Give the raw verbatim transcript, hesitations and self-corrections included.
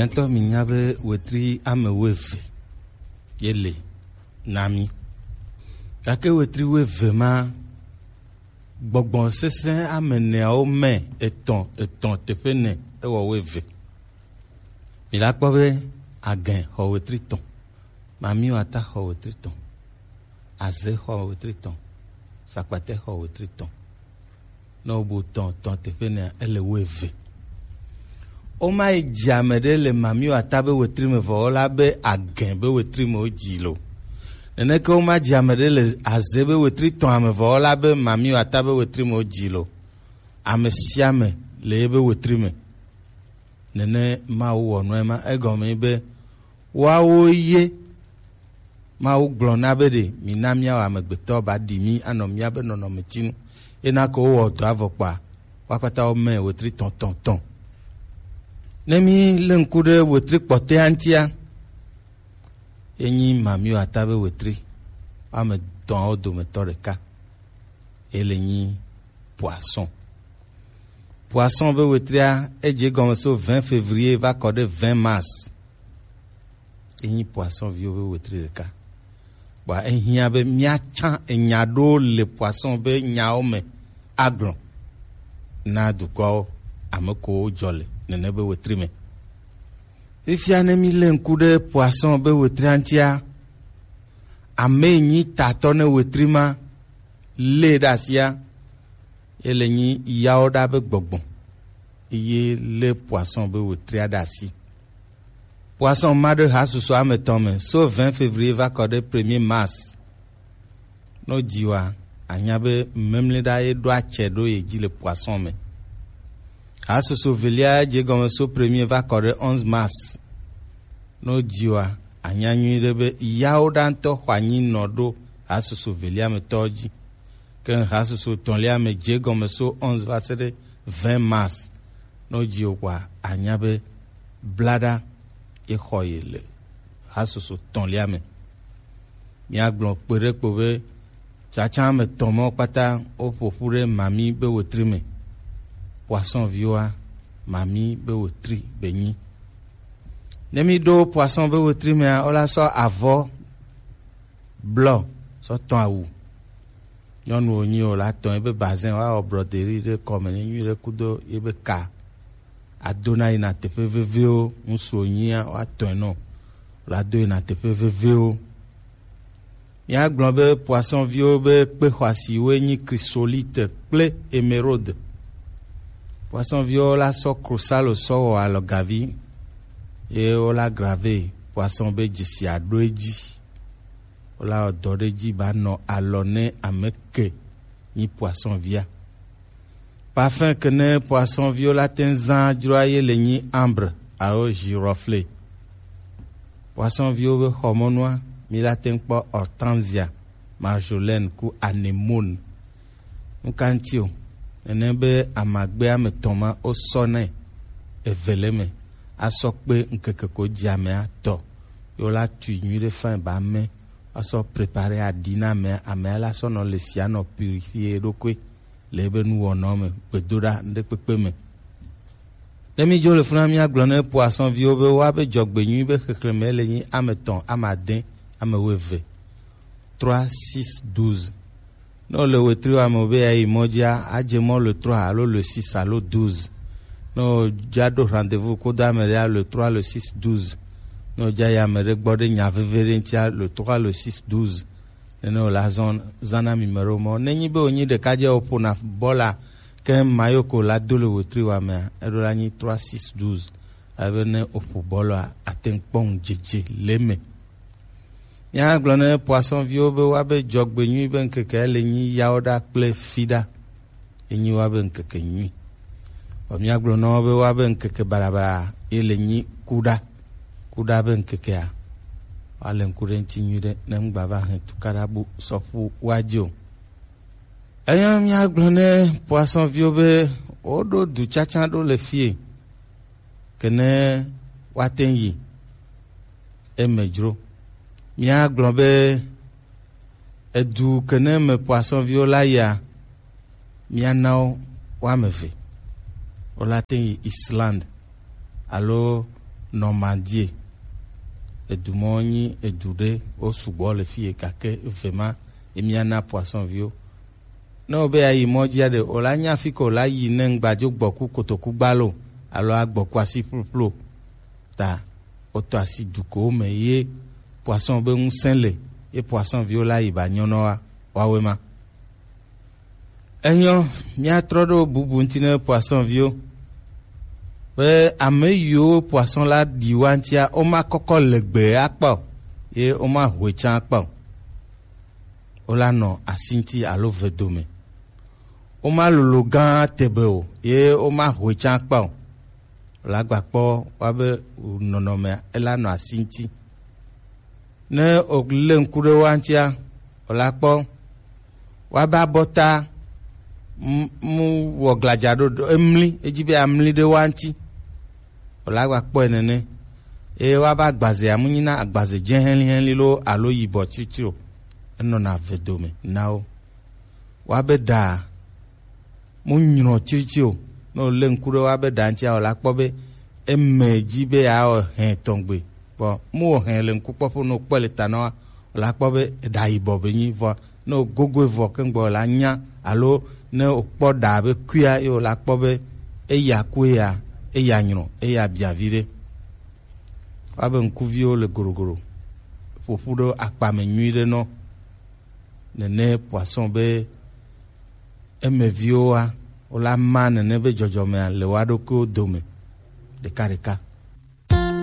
Nya ŋutɔ mi nya be wetri ame wuieve ye le na mi. Gake wetri wuieve ma, gbɔgbɔ sesẽ ame eneawo me etɔ̃, etɔ̃ teƒe ene ewɔ wuieve. Mi la kpɔ be Agɛ xɔ wetri etɔ̃, Mamiwata xɔ wetri etɔ̃, Azɛ xɔ wetri etɔ̃, Sakpatɛ xɔ wetri etɔ̃. Ne wobu tɔ̃, tɔ̃ teƒe nea, ele wuieve. Woma yi dzi ame ɖe le Mamiwata be wetri me vɔ wola be Agɛ be wetri me wodzi lo. Neneke woma dzi ame ɖe le Azɛ be wetri etɔ̃a me vɔ wola be Mamiwata be wetri me wodzi lo. Ame sia ame le ebe wetri me. Nene Mawu wɔ nua ema. Egɔme be woawo ye Mawu gblɔ na be ɖe mina míawɔ amegbetɔ ba ɖi mí anɔ míabe nɔnɔmetinu. Ena ko wowɔ dɔ avɔ kpa, wo akpata wo me wetri tɔ̃ tɔ̃ tɔ̃. Ne mí lé ŋku ɖe wetri kpɔtɔea ŋutia, ye nyi Mamiwata be wetri, ame etɔ̃awo dometɔ ɖeka. Ye le nyi poisson. Poisson be wetria, edze gɔme so vingt février va kɔ ɖe vingt mars. Enyi poisson viwo be wetri ɖeka. Bua ehiã be míatsã enya ɖewo le poisson be nyawo me agblɔ na dukɔawo, ame kowo dzɔ le nene be wetri me. Fifia ne mí lé ŋku ɖe poisson be wetria ŋutia, ame yi nyi tatɔ ne wetri ma lé ɖe asia, ye le nyi yawo ɖa be gbɔgbɔ, ye lé poisson be wetria ɖe asi. Poisson ma ɖe hasusu ame etɔ̃ me, so vingt février va kɔ ɖe premier mars. No dzi wa, anya be memle ɖa ye ɖo atsɛ ɖo ye dzi le poisson me. Hasusu velia dze gɔme so premier va kɔ ɖe onze mars. No dzi wa, anya nyuiɖe be yawo ɖa ŋutɔ xɔ anyi nɔ ɖo hasusu velia me tɔ dzi. Ke hasusu etɔ̃lia me dze gɔme so onze va se ɖe vingt mars. No dzi o kɔa, anya be blaɖa ye xɔ ye le hasusu etɔ̃lia me. Míagblɔ kpe ɖe kpo be tsatsa ame etɔ̃ mɔ kpata woƒo ƒu ɖe Mami be wetri me. Poisson viwoa, Mami be wetri be nyi. Ne mí ɖo poisson be wetri mea, wola sɔ avɔ blɔ sɔ tɔ̃ awu. Nyɔnu wonyi o la tɔ̃ ebe bazin, woawɔ broderie ɖe kɔme ne nyuiɖe kudo yebe ka. Adona yina teƒe veviwo, ŋsu wonyia woatɔ̃e nɔ. Wola do yina teƒe veviwo. Míagblɔ be poisson viwo be kpe xɔasiwoe nyi chrysolite kple émeraude. Poisson viwo la sɔ krosalo sɔ wɔ alɔgavi, ye wola grave poisson be dzesi aɖo edzi. Wola wɔ dɔ ɖe edzi ba nɔ alɔ ne ame ke nyi poisson via. Parfum ke ne poisson viwo la te ŋu zã dzroa ye le nyi ambre alo girofle. Poisson viwo be xɔmɔnua, mi la te ŋu kpɔ hortensia, marjolaine ku anemone. Nu ka ŋuti o? Nene be amagbe ame etɔ̃ ma wosɔ nɛ eve le eme asɔ kpe ŋkeke ko dzi amea tɔ. Ye wola tui nyuiɖe fine ba ame asɔ prepare aɖi na amea, amea la sɔ nɔ le sia nɔ purifier eɖokui le ebe nuwɔnɔ me, gbedoɖa, ŋɖekpekpe me. Ne mídzo le funa míagblɔ ne poisson viwo be woabe dzɔgbenyui be xexlẽme le nyi ame etɔ̃, ame ade, ame wuieve. Trois, six, douze. Ne wole wetri wa me be yeayi mɔ dzia, adze mɔ le trois alo le six alo douze. Ne wodza ɖo rendez-vous kodo ame ɖea le trois, le six, douze. Ne wodza yi ame ɖe gbɔ ɖe nya veve ɖe ŋutia le trois, le six, douze. Nene wòle azɔ zã na mi me ɖewo mɔ. Ne nyi be wònyi ɖekadze wòƒona bɔla ke mayo ko la do le wetri wa mea, eɖo la nyi trois six douze. Ale be ne wòƒo bɔlɔa, ate ŋu kpɔ ŋudzedze le eme. Míagblɔ ne poisson viwo be woabe dzɔgbenyui be ŋkeke le nyi yawo ɖa kple fi ɖa. Enyi woabe ŋkeke nyui. Vɔ míagblɔ na wo be woabe ŋkeke baɖabaɖa ye le nyi kuɖa. Kuɖa be ŋkekea, woale ŋku ɖe ŋuti nyuiɖe ne ŋgba va hɛn tukaɖa bu sɔƒu woadzi o. Eya míagblɔ ne poisson viwo be woɖo du tsatsa ɖo le fie, ke ne woate ŋu yi eme dzro. Míagblɔ be edu ke ne me poisson viwo la yia, míana wo woame eve. Wola te yi Islande alo Normandie. Edu mɔ nyi edu ɖe wo sugbɔ le fi ye gake eve ma ye mía na poisson viwo. Ne wo be ya yi mɔ dzia ɖe, o la nya fi ko la yi ne ŋgba dzo gbɔku kotoku gbalo alo agbɔku asi ploplo. Ta wotɔ asi dukowo me ye poisson be ŋusẽ le ye poisson viwo la yi ba nyɔnɔ wa wawe ma. Enyɔ, míatrɔ ɖo bubu ŋuti ne poisson viwo. Be ame yiwo poisson la ɖi wa ŋutia, woma kɔkɔ legbe akpa o, ye woma hoe tsã akpa o. Wola nɔ asi ŋuti alo ve dome. Woma lolo gã tebe o, ye woma hoe tsã akpa o. Wola gba kpɔ wa be nɔnɔmea ela nɔ asi ŋuti. Ne wòlé ŋku ɖe wa ŋutia, wòla kpɔ wa be abɔta mu wɔ gladza ɖo ɖo emli edzi be amli ɖe wa ŋuti. Wòla gba kpɔe nene. Eye wa be agbazea mu nyina agbaze dze hɛlihɛli lo alo yibɔ tsitsri o. Enɔna ve dome na wo. Wa be ɖa mu nyrɔ tsitsi o. Ne wòlé ŋku ɖe wa be ɖa ŋutia, wòla kpɔ be eme dzi be yeawɔ hɛ tɔgbe. Vɔ mu wɔ hɛ le ŋkukpɔƒe, ne wòkpɔe le ta na wa, wòla kpɔ be eɖa yibɔ be nyi. Vɔ ne wògogoe vɔ keŋgbɔ, wòla nya alo ne wòkpɔ ɖa be kuia, ye wòla kpɔ be eya ku eya, eya nyrɔ, eya bia viɖe. Wa be ŋkuviwo le gorogoro ƒoƒu ɖe akpa me nyuiɖe nɔ. Nene poisson be emeviwo wa, wola ma nene be dzɔdzɔmea le wa ɖokuiwo dome ɖekaɖeka.